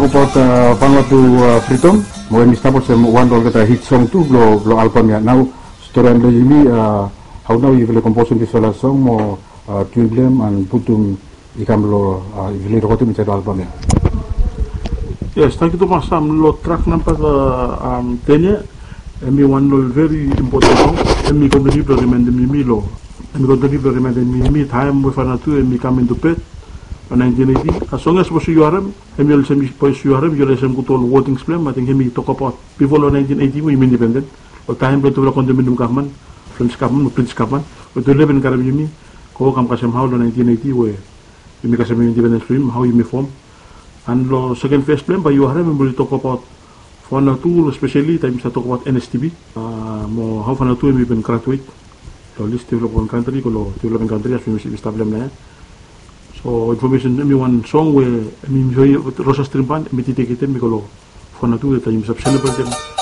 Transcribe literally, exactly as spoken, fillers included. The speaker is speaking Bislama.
About Vanuatu Freedom, mo hemi stap olsem wan long olgeta hit song tu blong album ya. Nao storian blong yumi, hao nao yufala i komposem disfala song mo tiun blong hem and putum i kam long, yufala i rekodem insaed long album ya? Yes, tangkiu tumas. Long track namba ten ya, hemi wan long veri impoten song. Hemi kontiniu blong rimaendem yumi long, hemi kontiniu blong rimaendem yumi taem we Vanuatu hemi kam into birth long naentin eiti. Song ya sapos yu harem, hemi olsem, sapos yu harem yu lesem gud ol wodings blong hem. Ating hemi tokbaot bifo long naentin eiti we yumi indipenden, long taem blong tufala kondominium gavman, French gavman mo British gavman, we tufala i bin karem yumi go kam kasem hao long naentin eiti we yumi kasem indipendens blong yumi, hao yumi fom. And long seken ves blong hem bae yu harem hem oli tokbaot Vanuatu, espeseli taem yumi stap tokbaot N S T B, mo hao Vanuatu hemi bin graduet long lis developing kantri go long developing kantri, as we yumi stap long hem naoia. So infomesen, hemi wan song we hemi, Rosa Stream Band hemi dediketem i go long Vanuatu taem yumi stap selebretem